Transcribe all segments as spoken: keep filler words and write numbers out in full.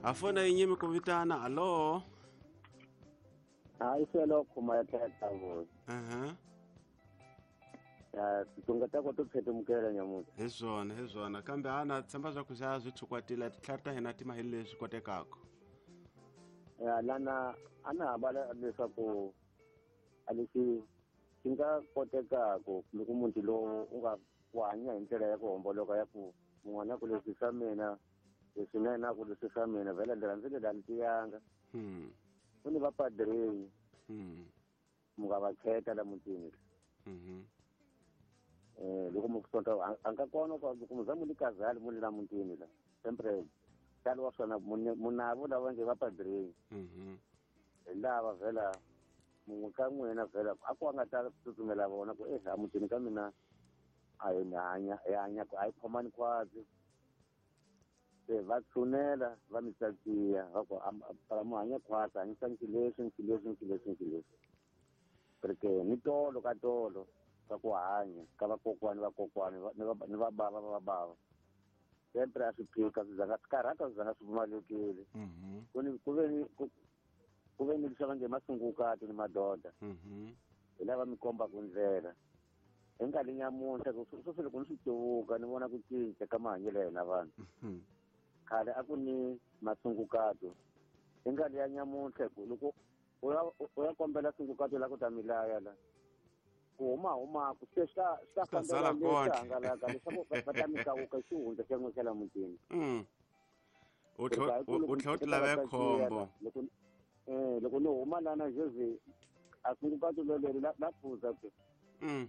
A fona yi nyimi ku vitana alo. Hayi selo khoma ya tlhela vo. Aha. Ya tunga ta ko to phetumukela nyamuthi. Hi swona, hi swona. Kambe ana tshemba swa ku xa swi tshukwatile titlhari ta hina ti ma hi leswi kotekaka. Ya lana ana habala leswaku a leswi swi nga kotekaku loko munhu lowu u nga ku hanya hi ndlela ya ku homboloka ya ku mun'wana ku leswi swa mina leswi na yena ku leswi swa mina vhela ndlela ndzi le ni tiyanga. Hmm. Ku ni vapadrini. Hmm. Mu nga va kheta la mutini. Mhm. Eh loko mu sonta a nga kona ku loko mu za mu ni kazali mu le la mutini la. Sempre talo wa swona munavo lava nge vapadrini. Mhm. Hi lava vhela mun'we ka n'wina vhela a ku a nga ta tsutsumela vona ku eh a mutini ka mina a hi hanya hi hanya ku a hi khomani khwatsi. Se va tshunela va mi tsakiya va ku para mu hanya khwatsi hanyisani xileswi ni xileswi ni xileswi ni xileswi. Porque ni tolo ka tolo ka ku hanya ka vakokwani vakokwani ni va ni va bava va bava. Sempre a swi phika swi zanga swi karhata swi zanga swi pfumalekile. Mhm. Ku ni ku ve ni ku ku ve ni leswi va nge masungukati ni madoda. Mhm. Hi lava mi kombaka ndlela. Hi nkarhi nyamuntlha ku sweswi loko ni swi tluvuka ni vona ku cinca ka mahanyelo ya hina vanhu. Mhm. Khale a ku ni masungukato. Hi nkarhi ya nyamuntlha ku loko u ya u ya kombela sungukato la ku ta mi laya la. Ku huma huma ku se swi ta swi ta Swi ta sala fambela leswi kondle. hangalaka leswaku va va ta mi kawuka xihundla xa n'we xa la mutini. Mm. U Ku ri tlhe hayi ku u loko u tlhe u mi ti teka va lave tsakiya khombo. la loko eh loko ni huma lana Jose a sungukato loleri la la phuza ku. Mm.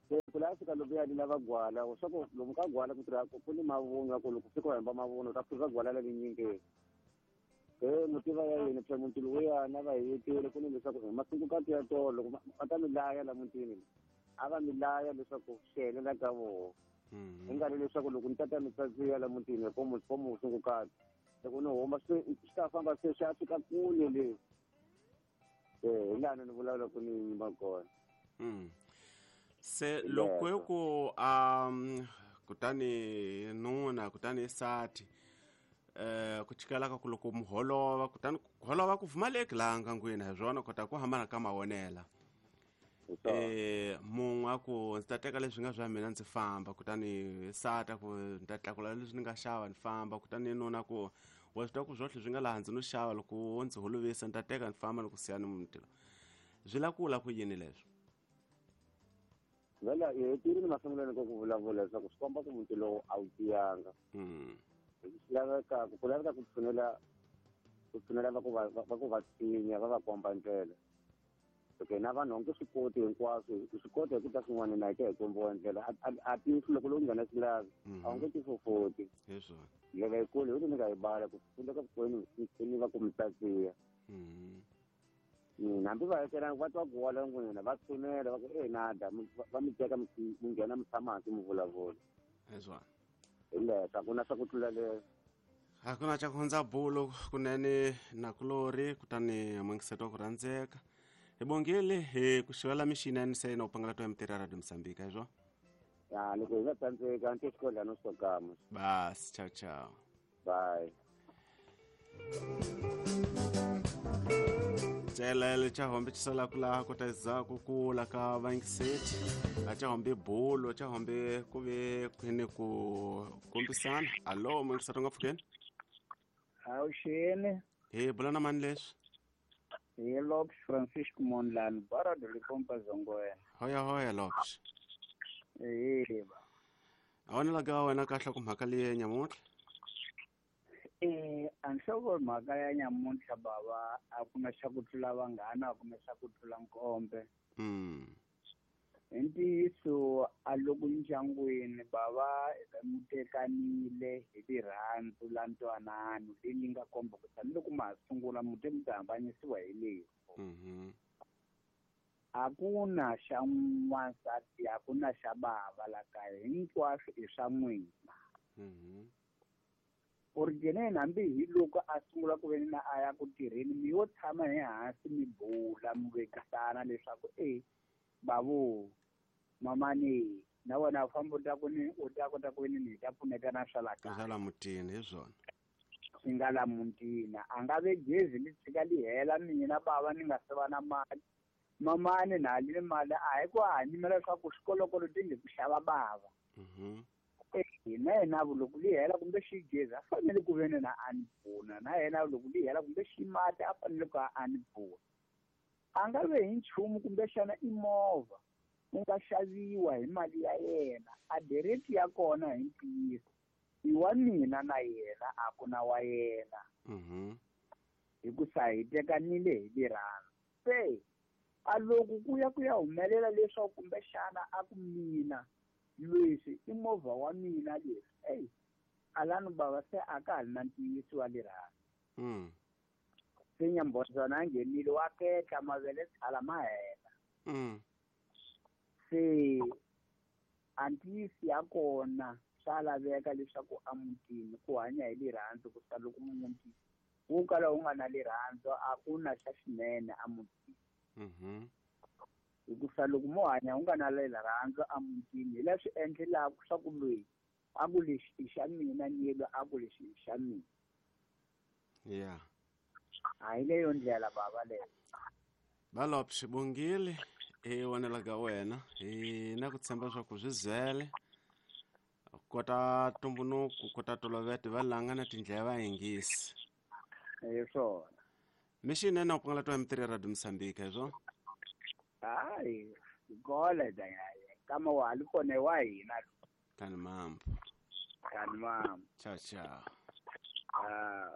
Se ku la fika loko ya lava gwala swa ku lomu ka gwala ku tirha ku ni mavunwa ku loko fika u hemba mavunwa u ta phuza gwala leri nyingi. Eh mutiva ya yini phela muti lowuya na va hetile ku ni leswaku hi masungukati ya tolo loko va ta mi laya la mutini a va mi laya leswaku swi helela ka voho. Mhm. Hi nga ri leswaku loko ni tata mi tsatsiya la mutini ko mu ko musungukati loko ni huma swi swi ta famba se swi ya fika kule le. Eh hi laha ni vulavula ku ni yima kona. Mm. Se Hi loko hi leswo. ku um kutani nuna kutani sati eh ku chikela ka ku loko muholova kutani ku holova ku pfumaleki laha ngangwini hi swona kota ku hambana ka mavonela. Hi swona. Eh mun'we a ku ndzi ta teka leswi nga swa mina ndzi famba kutani sati a ku ni ta tlakula leswi ni nga xava ni famba kutani nuna ku wa swi tiva ku swohle swi nga laha ndzi no xava loko wo ndzi holovisa ni ta teka ni famba ni ku siya ni muti lowu. Swi la ku la ku yini leswi? Vhela hi hetile ni masungulweni ka ku vulavula leswaku swi komba ku muti lowu a wu tiyanga. Mm. Swi laveka ku laveka ku tshunela ku tshunela va ku va va ku va tshinya va va komba ndlela. Okay na vanhu onge swi koti hinkwaswo swi kota hi ku ta swin'wana na hi hi kombiwa ndlela a a a tihlo loko lowu nghena xilavi a wu nge ti fofoti. Hi swona. Ndlela yikulu hi ni nga yi bala ku pfuleka vukwenu ni va ku mi tsatsiya. Mhm. Mm, hambi va hetelanga va twa gwala n'wina va tshunela va ku eh nada va mi teka mi nghena mi tshama hansi mi vulavula. Hi swona. Hi leswo a ku na swa ku tlula leswo. A ku na xa ku hundza bulo kunene nakulori kutani mungiseto wa ku rhandzeka. Hi bongile hi ku xivela mixini se na u pangela to ya mitirho ya Radio Mozambique hi swona. Ya loko hi nga tsandzeka ni xikodla no swo kama. Bas, ciao ciao. Bye. Celele cha hombe chisala kula kota zaku kula ka vangiseti a cha hombe bulo cha hombe ku ve kwini ku kombisana. Allo mungiseto nga pfukeni? Awuxeni. Hi bula na mani leswi? Hi Lopes Francisco Mondlane, Barra do Limpopo Zongwena. Hoya hoya Lopes. Yebo. A wona la ga wena kahle ku mhaka leyi nyamuntlha? Eh, a nhloko mhaka ya nyamuntlha bava a ku na xa ku tlula vanghana a ku na xa ku tlula nkombe. Mm. Hi ntiyiso a loko ndyangwini bava mutekanile hi rirhandzu la ntwanano leyi nga komba ku tanihiloko ma ha sungula muti mi ta hambanyisiwa hi lefu. Mhm. A ku na xa n'wansati a ku na xa bava la kaya hinkwaswo i swa n'wina. Mhm. Originally hambi hi loko a sungula ku ve na a ya ku tirheni mi yo tshama hi hansi mi bula mi vekisana leswaku e babu mamani na wena u famba u ta ku ni u ta kota ku ni ni ta pfuneta na swa la kaya. Swa la mutini hi swona. Swi nga la mutini a nga ve gezi li tshika li hela mina bava ni nga se va na mali mamani na li mali a hi ku a nyimela leswaku swikolokolo ti nge ku xava bava na yena loko li hela kumbe xi gezi a fanele ku ve ni na a ni pfuna na yena loko li hela kumbe xi mati a fanele ku a ni pfuna a nga ve hi nchumu kumbexana i movha wu nga xaviwa hi mali ya yena a direct ya kona hi ntiyiso i wa mina na yena a ku na wa yena hikusa hi tekanile hi rirhandzu se a loko ku ya ku ya humelela leswaku kumbexana a ku mina leswi i movha wa mina leswi eyi alani bava se a ka ha ri na ntiyiso wa rirhandzu se Nyambodzana a nghenile wa ketla mavele tshala ma hela se a ntiyiso ya kona swa laveka leswaku emutini ku hanya hi rirhandzu ku sa loko muti wu kala wu nga na rirhandzu a ku na xa xinene emutini hikusa loko mo hanya u nga na rirhandzu emutini hi leswi endlelaka swa ku loyi a ku lexi i xa mina ni yelo a ku lexi i xa mina yeah a hi leyo ndlela bava leyo Balop xibongile i vonela ka wena hi na ku tshemba swa ku swi zele kota tumbunuku kota tolovete va langa na tindlela va yingisi hi swona mixini na ku pangala twa mitirhi Radio Mozambique hi swona hayi gole da kama wa li kone wa hina kani mambo kani mambo ciao ciao ah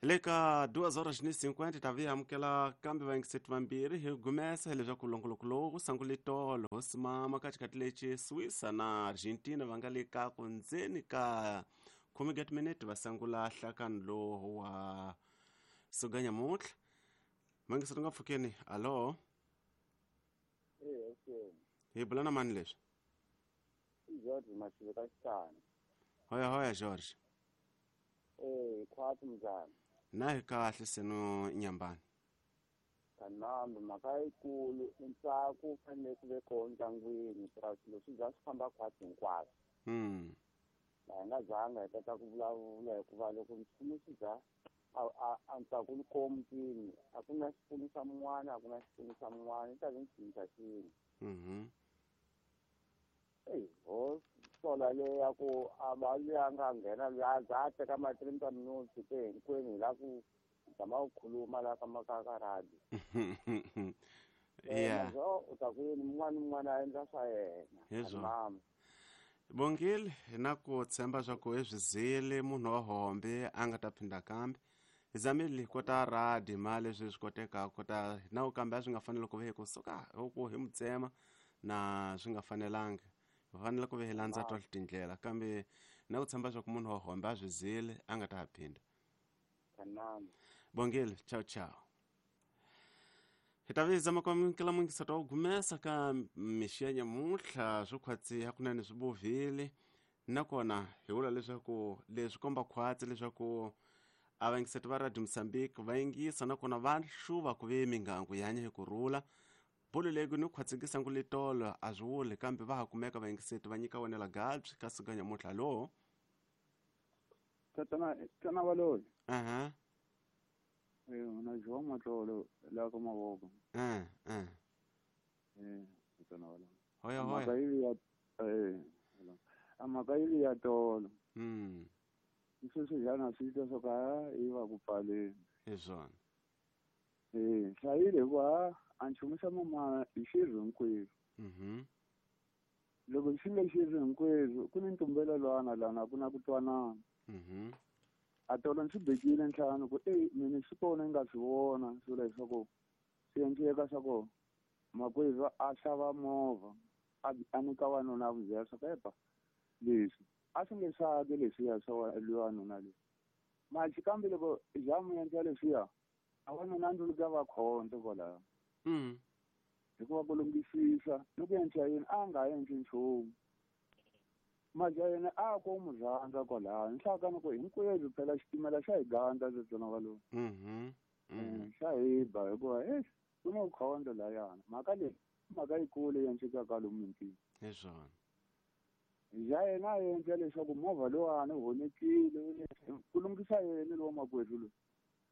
le ka duas horas ni cinquenta tavi amukela kambe vayingiseti vambirhi hi gumesa leswaku longoloko lowu sangule tolo hosi mama ka xikati lexi Suiza na Argentina va nga le ka ku ndzeni ka khume ga timinete va sangula nhlakano lowu wa suganyamuntlha mangiseti nga pfukeni alo hi bula na mani leswi George Mashilo ka Xitana hoya hoya George eh khwatsi mnjani na hi kahle seno nyambani kanambe mhaka yikulu ntsako wu fanele ku ve kona ndyangwini purasi leswi bya swi famba khwatsi hinkwaswo mm la hi nga zanga hi kota ku vulavula hikuva loko nchumu swi bya a ntsako wu kona mutini a ku na xipfuno xa mun'wana a ku na xipfuno xa mun'wana i ta ve nchumu xa xin'we mhm eyi ho sola leyi ya ku a va luya nga nghena luya za a teka ma twenty minutes te hinkwenu hi la ku zama ku khuluma la ka ka ka radio yeah u ta ku yini mun'wana ni mun'wana a endla swa yena hi swona Bongile hi na ku tshemba swa ku i swi zile munhu wa hombe a nga ta phinda kambe hi zamile kota radi ma leswi swi kotekaka kota na kambe a swi nga faneli ku ve hi kusuka ku hi mutsema na swi nga fanelanga hi fanele ku ve hi landza tohle tindlela kambe na ku tshemba swa ku munhu wa hombe a swi zile a nga ta ha phinda Bongile ciao ciao hi ta vizama ku amukela mungiseti wa gumesa ka mixi ya nyamuntlha swo khwatsiha kunene swi bovile nakona hi vula leswaku leswi komba khwatsi leswaku a vayingiseti va Radio Mozambique va yingisa nakona va hluva ku ve mingangu yi hanya hi kurhula bolo leyi ku ni khwatsikisa ngu letolo a swi vuli kambe va ha kumeka vayingiseti va nyika wena gabyi ka siku nyamuntlha lo tatana tana valoyi aha eh na João Matlolo la ka mavoko eh eh eh tatana valoyi hoya hoya mhaka yi ya eh a mhaka yi ya tolo mm sweswi jana swi twa swo ka yi va ku pfaleni hi swona eh hlayile hikuva a nchumu xa mama hi xirho hinkwerhu mhm loko xi nga xirho hinkwerhu ku ni ntumbelelwana lana ku na ku twanana mhm a tolo ndzi bekile ntlhanu ku eyi mina swi kona ni nga swi vona swi vula leswaku swi endleka swa ku makwerhu a xava movha a a nyika wanuna a n'wi byela swa ku epa leswi a swi nge swaki leswiya swa loyi wanuna loyi machi kambe loko jamu endla leswiya a wanuna a ndzi ka va khonto kwalaho mm hikuva ku lunghisisa ni ku endla yini a nga endli nchumu maja yena a ko mu rhandza kwalaho ni hlaka ni ku hinkwerhu phela xitimela xa hi gandza tsona valoyi mhm xa hi ba hikuva e ku na khonto layana mhaka leyi mhaka yikulu yi endlekaka lomu mintini hi swona Ya yena a endla leswaku movha lowani wu honekile ku lunghisa yena lowa makwerhu loyi.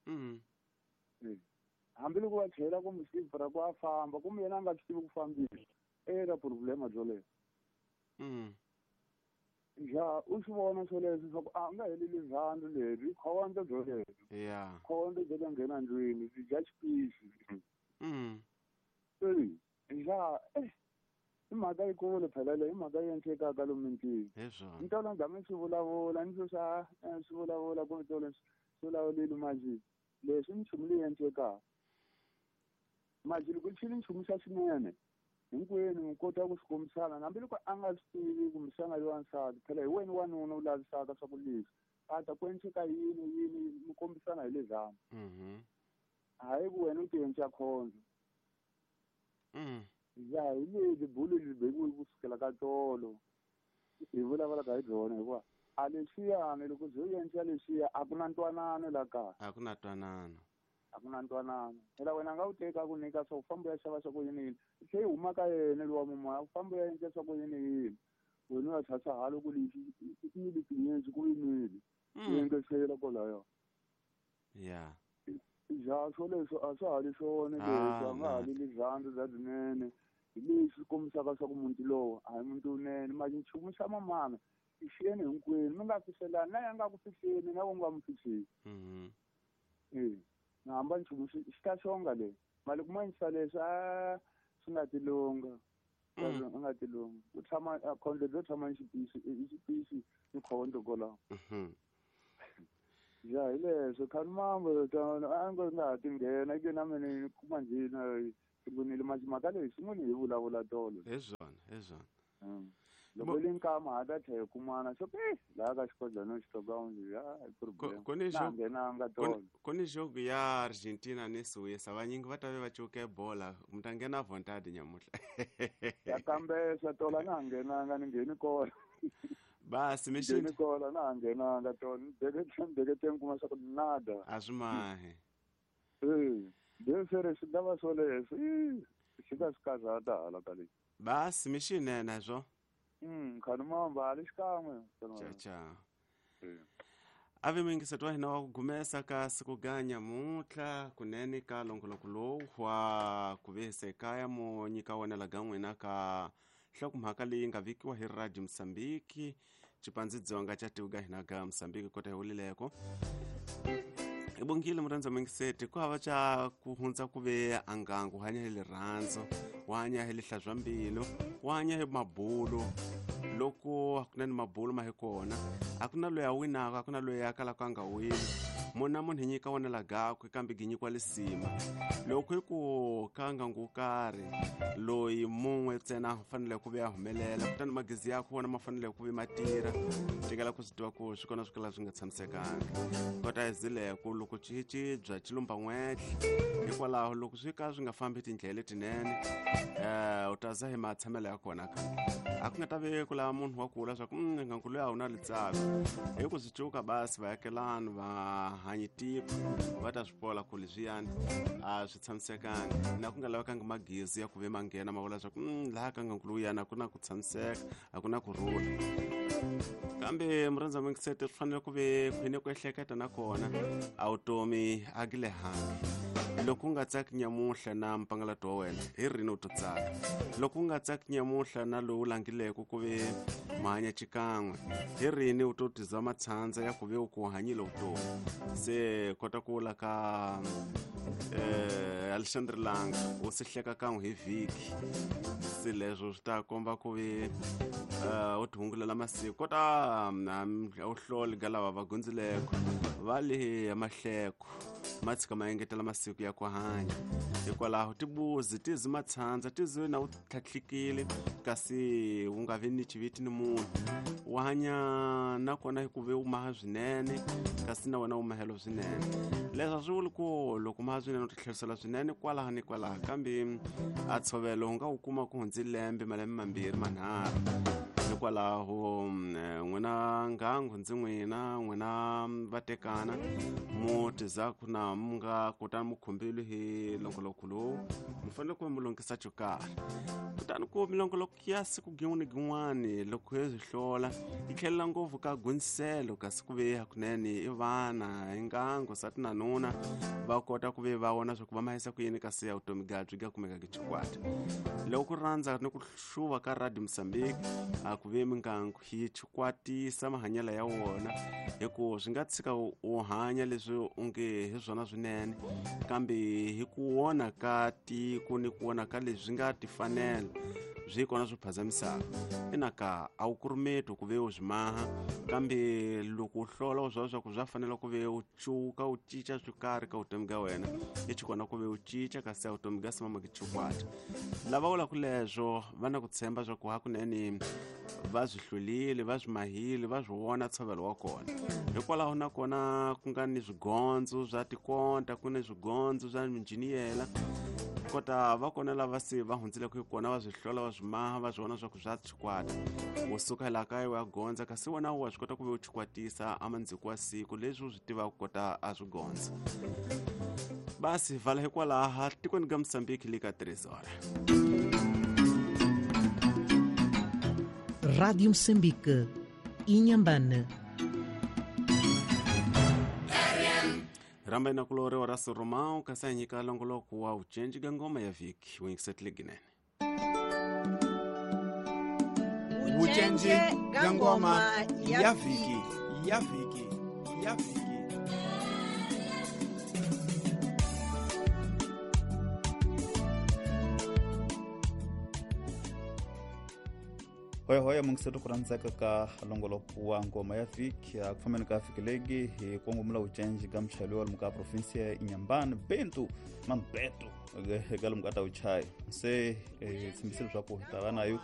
Mm. Hambiloko va chela kumbe xivra ku a famba kumbe yena a nga swi tivi ku fambisa eka problema byoleyo. Mm. Ja u swi vona swoleswo swa ku a nga heleli rirhandzu leri khondzo byolebyo. Yeah. Khondzo byo ta nghena ndlwini byi dya xipisi. Mm. Eyi ja eh i mhaka yikulu phela leyi i mhaka yi endlekaka lomu mintini. Hi swona. Ni tolo ndza swi vulavula ni swa swi vulavula ku tolo swi vulavulile manje leswi nchumu leyi endlekaka. Manje loko xi nchumu xa xinene hinkwenu mi kota ku swi kombisana hambiloko a nga swi tivi kumbexana loyi wansati phela hi wena wanuna u lavisaka swa ku leswi a ta ku endleka yini yini mi kombisana hi lezana. Mhm. Hayi ku wena u ti endla khondzo. Mm. Ya hi leti bulu lebyi bekiwe ku sukela ka tolo hi vulavulaka hi byona hikuva a lexiyani loko byo endla lexiya a ku na ntwanano la kaya. A ku na ntwanano. A ku na ntwanano. Phela wena nga wu teka ku nyika swa ku famba u ya xava swa ku yini yini se yi huma ka yena lowa mumoya u famba u ya endla swa ku yini yini wena u ya tshasa halo ku lexi i ni tinyenzi ku yinile u engetela kwalayo. Yeah. Ja swoleswo a swa ha ri swona leswi a nga ha li rirhandzu bya byinene hi leswi kombisaka swa ku muti lowu a hi muti wunene manje nchumu xa mamana i xiyeni hinkwenu mi nga fihlelani na ya nga ku fihleni na u nga mi fihleli. Mhm. Eh na hamba nchumu xi xi ta xonga le mali kuma yisa leswi a swi nga tilunga a nga tilunga ku tshama khondzo byo tshama ni xipisi i xipisi ni khondzo kwalaho. Mhm. Ja hi leswo khani mambo a ngo nga ha ti nghena ke na mina ni kuma njhina sungulile manje mhaka leyi sungule hi vulavula tolo. Hi swona hi swona. Loko li nkama ha ta tlhela hi kumana swo eh laha ka xikodlana xi toka ya i problem. Ku ni Na nghenanga tolo. Ku ni jogo ya Argentina ni Suíça vanyingi va ta ve va cuke bola mi ta nghena vontade nyamuhla. Ya kambesa tola na nghenanga ni ngheni kona. Basi mi xi ngheni kona na nghenanga tolo ni beke beke kuma swa ku nada. A swi mahi. Eh desere swi ta va swoleswo swi ta swi karhata hala ka leyi. Basi mi xinene swo. Mm khani mamba ali xikan'we. Cha cha. Ave muyingiseti wa hina wa ku gumesa ka siku ga nyamuntlha kunene ka longoloko lowu wa ku vehisa ekaya mo nyika wena la ga n'wina ka nhlokomhaka leyi nga vikiwa hi Radio Mozambique Xipandzidzonga xa tiko ga hina ga Mozambique kota hi wulileko. Hi bongile murhandza muyingiseti ku hava xa ku hundza ku ve angangu hanya hi rirhandzu wa hanya hi lihlazwa mbilu wa hanya hi mabulu loko a ku na ni mabulu ma hi kona a ku na loyi a winaka a ku na loyi a kalaka a nga wini munhu na munhu hi nyika wona la gakwe kambe gi nyikiwa lisima loko hi ku ka ngangu wo karhi loyi mun'we ntsena u fanele ku ve a humelela kutani magezi yakwe wona ma fanele ku ve ma tirha tekela ku swi tiva ku swi kona swi kala swi nga tshamisekanga kota hi zileko loko ci ci bya xilumba n'wehle hikwalaho loko swi ka swi nga fambi tindlela letinene um u ta za hi matshamelo ya kona ka a ku nga ta ve ku lava munhu wa kula swa ku ngangu loyi a wu na litsako hi ku swi cuka basi vaakelani va hanyi tiko va ta swi pola ku leswiyani a swi tshamisekanga na ku nga lavekanga magezi ya ku ve ma nghena ma vula swa ku laha ka ngangu lowuyani a ku na ku tshamiseka a ku na ku rhula kambe murhandza muyingiseti swi fanele ku ve khwine ku ehleketa nakona a vutomi a gi lehangi loko u nga tsaki nyamuhla na mpangalato wa wena hi rini u to tsaka loko u nga tsaki nyamuhla na lowu langileke ku ve mahanya xikan'we hi rini u to tiza matshandza ya ku ve u ku hanyile vutomi se kota ku vula ka eh Alexandre Langa u si hleka kan'we hi vhiki se leswo swi ta komba ku ve u ti hungulela masiku kota u hloli ga lava va gundzileko va le mahleko ma tshika ma engetela masiku ya ku hanya hikwalaho tibuzi ti zi matshandza ti zi na u tlhatlhikile kasi u nga vi ni xiviti ni munhu u hanya nakona hi ku ve u maha swinene kasi na wena u mahelo swinene leswi a swi vuli ku loko maha swinene u ti tlherisela swinene kwalaha ni kwalaha kambe a tshovelo u nga wu kuma ku hundzi lembe malembe mambirhi manharhu Hikwalaho n'wina ngangu ndzi n'wina n'wina vatekana mu tizaku na mu nga kutani mu khumbile hi longoloko lowu mi fanele ku mi longisa xo karhi. Kutani ku milongoloko ya siku gin'wana gin'wani loko hi swi hlola yi tlhelela ngopfu ka guniselo kasi ku ve hakunene i vana hi ngangu sati na nuna va kota ku ve va vona swa ku va mahisa ku yini kasi ya vutomi ga byi ga kumeka ki chikwata. Loko ku rhandza ni ku hluva ka Radio Mozambique a ku ve mingangu yi chikwatisa mahanyelo ya wona hi ku swi nga tshika u hanya leswi u nge hi swona swinene kambe hi ku wona ka tiko ni ku wona ka leswi nga tifanela swi kona swi phazamisaka. Ina ka a wu kurumeti ku ve u swi maha kambe loko u hlola u swa swa ku swa fanela ku ve u cuka u cinca swo karhi ka vutomi ka wena i chikona ku ve u cinca kasi ya vutomi ka simama ki chikwata. Lava vulaka leswo va na ku tshemba swa ku hakunene va swi hlulile va swi mahile va swi vona ntshovelo wa kona. Hikwalaho nakona ku nga ni swigondzo swa tikonta ku ni swigondzo swa minjiniyela kota va kona lava se va hundzileke hi kona va swi hlola va swi maha va swi vona swa ku swa chikwata. U suka laha kaya u ya gondza kasi wena wa swi kota ku ve u chikwatisa a mandziko wa siku leswi u swi tivaka kota a swi gondza. Basi vala hikwalaha tikweni ka Mozambique le ka três horas. Rádio Moçambique, Inhambane. Ramba inakulore wa Raso Romão kasi a nyika longoloko wa ucenji ga ngoma ya viki wingisetile ginene. Ucenji ga ngoma ya viki ya viki ya viki. Hoya hoya mungiseto ku rhandzeka ka longoloko wa ngoma ya vhiki a ku fambeni ka vhiki legi hi kongomula ucenji ka muchayeri wa lomu ka provinsia ya Inhambane Bento Mambeto eka lomu ka ta uchaya se hi tshembisile leswaku hi ta va nayo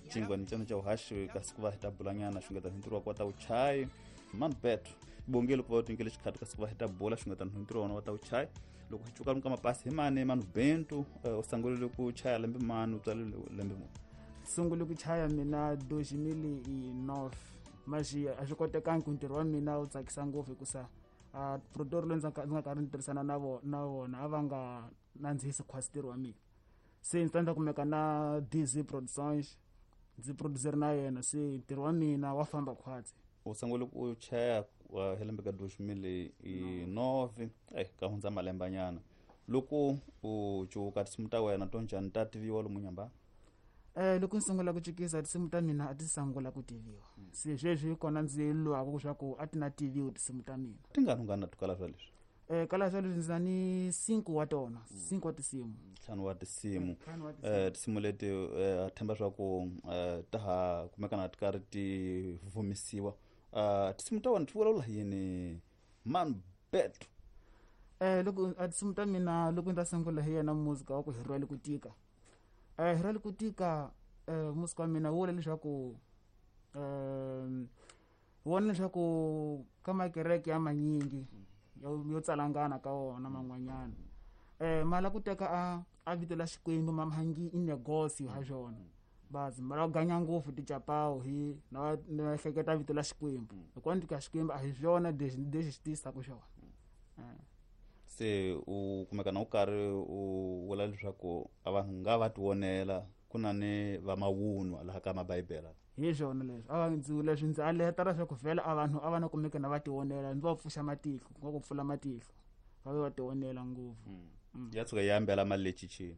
cingwani cana ca uhaxi kasi ku va hi ta bulanyana xungeta ntirho wa ta uchayi Mambeto bongile ku va u tinyikele xikhati kasi ku va hi ta bula xungeta ntirho wa wona wa ta uchayi. Loko hi cuka lomu ka mapasi hi mani manu Bento u sungulile ku chaya lembe mani u tswalile lembe muni? Sungule ku chaya mina dois mil e nove mas a swi kotekangi ku ntirho wa mina wu tsakisa ngopfu hikusa a produtor loyi ndzi nga karhi ni tirhisana na vona na vona a va nga nandzihisi khwasi ntirho wa mina se ndzi ta ndza kumeka na D Z Productions ndzi producer na yena se ntirho wa mina wa famba khwatsi. U sungule ku chaya hi lembe ka dois mil e nove eh ka hundza malembanyana. Loko u cuka tinsimu ta wena to njhani ta tiviwa lomu Inhambane? Eh loko ndzi sungula ku cukisa tinsimu ta mina a ti sungula ku tiviwa se sweswi kona ndzi lwaka leswaku a ti na tiviwa tinsimu ta mina. Tingani ungana tukala swa leswi? Eh kala swa leswi ndzi na ni cinco wa tona cinco wa tinsimu ntlhanu wa tinsimu. Eh tinsimu leti a themba swa ku ta ha kumeka na ti karhi ti vumisiwa. Eh tinsimu ta wena ti vulavula yini Mambeto? Eh loko a tinsimu ta mina loko ndzi sungula hi yena muzika wa ku hi rhwale ku tika. Eh hi rhwale ku tika eh muzika wa mina wu vula leswaku eh wona leswaku ka makereke ya manyingi yo tsalangana ka wona man'wanyana eh mala ku teka a a vito la Xikwembu mamhangi i negocio ha xona bazi mala ganya ngopfu tichapawu hi na na hleketa vito la Xikwembu hikuva ndzi ka Xikwembu a hi swona lexi lexi xi tisaka xona. Se u kumeka na u karhi u vula leswaku a vanhu nga va tivonela ku na ni va mawunwa laha ka mabibele. Hi swona leswi a ndzi leswi ndzi aleta leswaku vhela a vanhu a va na kumeka na va tivonela ndzi va pfuxa matihlo ku nga ku pfula matihlo va ve va tivonela ngopfu. Ya tshuka yi ambela mali le chichini.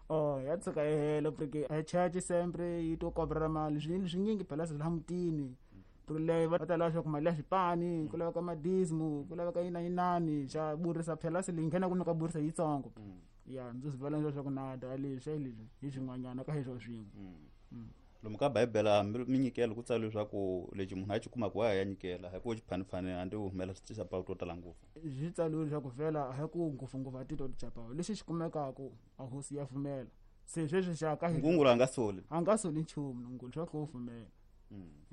Oh ya tshuka yi hela porque a church sempre yi to kobra mali swi swinyingi phela swi la mutini leyi va ta lava leswaku mali ya swipani ku laveka madismu ku laveka yina yinani xa burisa phela se leyi nghena ku nyika burisa yitsongo ya ndzi swi vula leswaku na da leswi leswi hi swin'wanyana ka heswo swin'we. Lomu ka bibele hambi minyikelo ku tsala leswaku lexi munhu a xi kumaka wa ya nyikela hi ku xiphanifani hambi u humela swi tisa pawu to tala ngopfu. Swi tsaliwe leswaku vhela a hi ku ngopfungopfu a titwa tichapawu lexi xi kumekaka a hosi ya pfumela se sweswi xa ka ngungula a nga soli a nga soli nchumu ngungula swa ku pfumela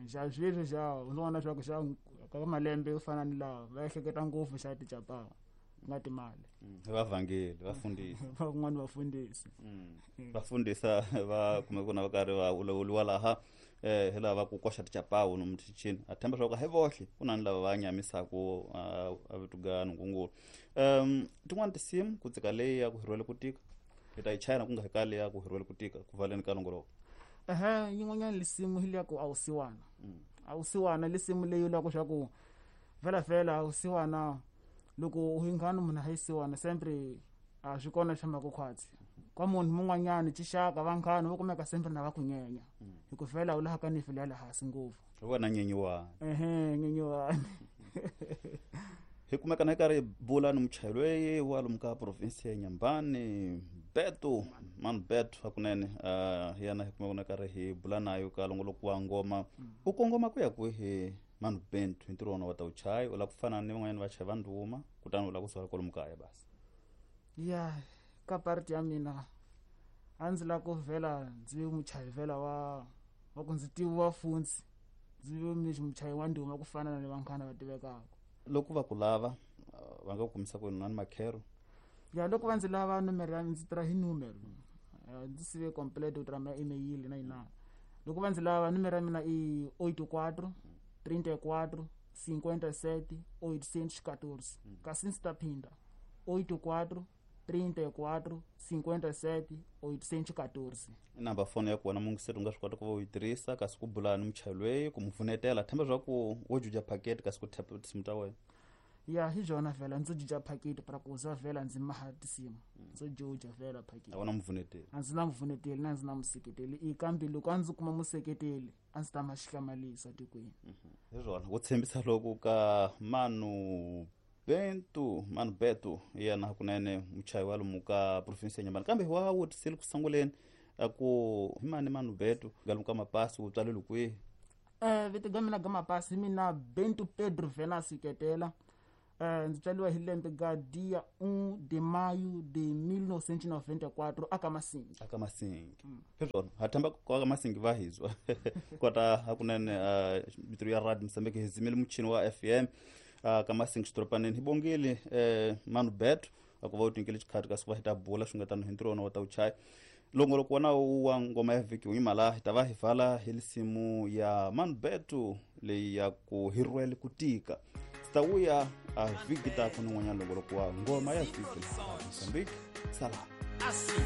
xa sweswi xa u vona leswaku xa ka malembe yo fana ni lawa va ehleketa ngopfu xa tichapawu Ku nga timali. Vavhangeli vafundhisi van'wani vafundhisi vafundhisa va kume ku na va karhi va ulawuliwa laha eh hi lava ku koxa tichapawu nomu tichini a themba swa ku hi vohle ku na ni lava va nyamisaku a vituga nungungulu. um tin'wani tinsimu ku tsika leyi ya ku hirwele ku tika hi ta yi chayina ku nga hi kale ya ku hirwele ku tika ku valeni ka longoloko. Ehe, yin'wanyana lisimu hi leya ku awusiwana. Awusiwana lisimu leyi la ku swa ku vhela vhela awusiwana loko u ingana munhu a yisiwana sempre a swi kona swa makukhwatsi kwa munhu mun'wanyana tixaka vanghana vo kumeka sempre na va ku nyenya hi ku vhela u laha ka ni fela laha hansi ngopfu wena nyenyiwani. Ehe, nyenyiwani. Hi kumeka na karhi bula ni muchayeri loyi wa lomu ka province ya Nyambani Beto Manu Beto hakunene uh, yena hi kumeka na karhi hi bula nayo ka longoloko wa ngoma. U kongoma ku ya kwihi Manu Bento hi ntirho wa wena wa ta wuchayi? U lava ku fana ni van'wanyana vachayi va ndhuma kutani u lava ku sala kwalomu kaya basi? Ya, ka parti ya mina a ndzi lava ku vhela ndzi ve muchayi vhela wa wa ku ndzi tiviwa funtsi ndzi ve muchayi wa ndhuma ku fana na vanghana va tivekaka. Loko va ku lava va nga ku kumisa ku na ni makhero? Ya, loko va ndzi lava nomero ya ndzi tirha hi numero, ndzi sive complete ku tirha ma email na yinana. Loko va ndzi lava nomero ya mina i oito quatro trinta e quatro cinquenta e sete oitocentos e quatorze. Kasi ndzi ta phinda oito quatro trinta e quatro cinquenta e sete oitocentos e quatorze. I number phone ya kona mungiseti u nga swi kota ku va u yi tirhisa kasi ku bula ni muchayi loyi ku mu pfunetela themba swa ku wo juja packet kasi ku tap tinsimu ta wena. Ya, hi byona vhela ndzo juja packet para ku za vhela ndzi maha tinsimu ndzo juja vhela packet. A wona mupfuneteli? A ndzi na mupfuneteli na ndzi na museketeli i kambe loko a ndzi kuma museketeli a ndzi ta ma xihlamalisa tikweni. Hi swona ku tshembisa loko ka Manu Bento Manu Beto yena hakunene muchayi wa lomu ka province ya Nyambani. Kambe wa wutisile ku sunguleni a ku hi mani Manu Beto ga lomu ka mapasi u tswalele kwihi? Eh, vito ga mina ga mapasi hi mina Bento Pedro Venasi Ketela. Eh, ndzi tswaliwa hi lembe ga dia um de maio de mil novecentos e noventa e quatro aka Masingi. Aka Masingi. Hi swona ha themba ku aka Masingi va hizwa kota hakunene mitiro ya radio Mozambique hi zimile muchini wa F M ka Masingi xidorobaneni. Hi bongile eh Manu Beto a ku va u tinkele xikhati kasi ku va hi ta bula swi nga tano hi ntirho wa wena wa ta wuchayi. Longoloko wa nawu wa ngoma ya vhiki wu yima laha hi ta va hi vala hi lisimu ya Manu Beto leyi ya ku hi rhwele ku tika. Ndzi ta vuya a vhiki ta ku ni n'wanyana longoloko wa ngoma ya vhiki laha Mozambique. Salam. Assim.